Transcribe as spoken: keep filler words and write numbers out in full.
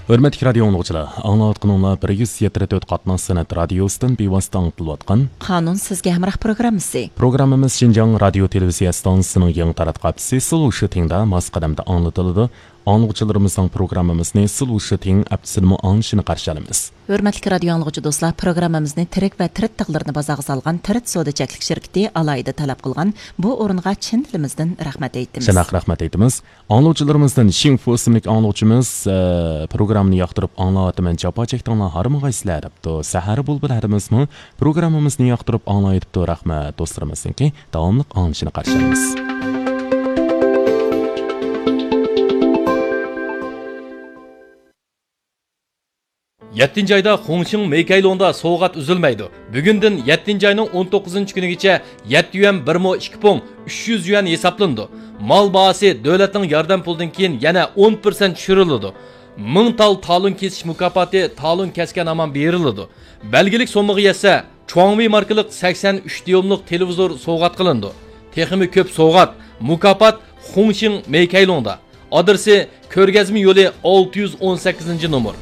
ھۆرمەتلىك رادىيو ئاڭلىغۇچىلار، ئاڭلاۋاتقىنىڭلار بىر يۈز يەتتە تۆت قاتناش سەنئەت رادىيوسىدىن بىۋاسىتە ئاڭلىتىلىۋاتقان قانۇن سىزگە ھەمراھ پروگراممىسى. پروگراممىمىز شىنجاڭ رادىيو تېلېۋىزىيە ئىستانسىسىنىڭ يېڭى تاراتقۇ ھەپتىسى سىلۋۇشىتىڭدا ماس قەدەمدە ئاڭلىتىلىدۇ. ئاڭلىغۇچىلىرىمىزنىڭ پروگراممىمىزنى سىلۋۇشىتىڭ ھەپتىسىدىمۇ ئاڭلىشىنى قارشى ئالىمىز. ھۆرمەتلىك رادىيو ئاڭلىغۇچى دوستلار، پروگراممىمىزنى تىرىك ۋە تىرىت تاغلىرىنى بازارغا سالغان تىرىت سودا چەكلىك شىركىتى ئالاھىدە تەلەپ قىلغان بۇ ئورۇنغا چىن دىلىمىزدىن رەھمەت ئېيتىمىز. شۇنداق، رەھمەت ئېيتىمىز. ئاڭلىغۇچىلىرىمىزدىن شىڭفۇ ئىسىملىك ئاڭلىغۇچىمىز، ئە، پروگراممىنى ياقتۇرۇپ ئاڭلاۋاتىمەن، جاپا چەكتىڭلار، ھارمىغايسىلەر دەپتۇ. سەھەر بۇلبۇل ھەدىمىزمۇ پروگراممىمىزنى ياقتۇرۇپ ئاڭلاۋېتىپتۇ. رەھمەت، دوستلىرىمىزنىڭكى داۋاملىق ئاڭلىشىنى قارشى ئالىمىز. يەتتىنچى ئايدا خۇڭشىڭ مېيكەيلۇڭدا سوۋغات ئۈزۈلمەيدۇ. بۈگۈندىن يەتتىنچى ئاينىڭ ئون توققۇزىنچى كۈنىگىچە يەتتە يۈەن بىر مو ئىككى پۇڭ ئۈچ يۈز يۈەن ھېسابلىنىدۇ. مال باھاسى دۆلەتنىڭ ياردەم پۇلىدىن كېيىن يەنە ئون پىرسەنت چۈشۈرۈلىدۇ. مىڭ تال تالون كېسىش مۇكاپاتى تالون كەسكەن ھامان بېرىلىدۇ. بەلگىلىك سوممىغا يەتسە، چۇاڭۋېي ماركىلىق سەكسەن ئۈچ دىيۇملۇق تېلېۋىزور سوۋغات قىلىنىدۇ. تېخىمۇ كۆپ سوۋغات، مۇكاپات خۇڭشىڭ مېيكەيلۇڭدا. ئادرېسى: كۆرگەزمە يولى، ئالتە يۈز ئون سەككىزىنچى نومۇر.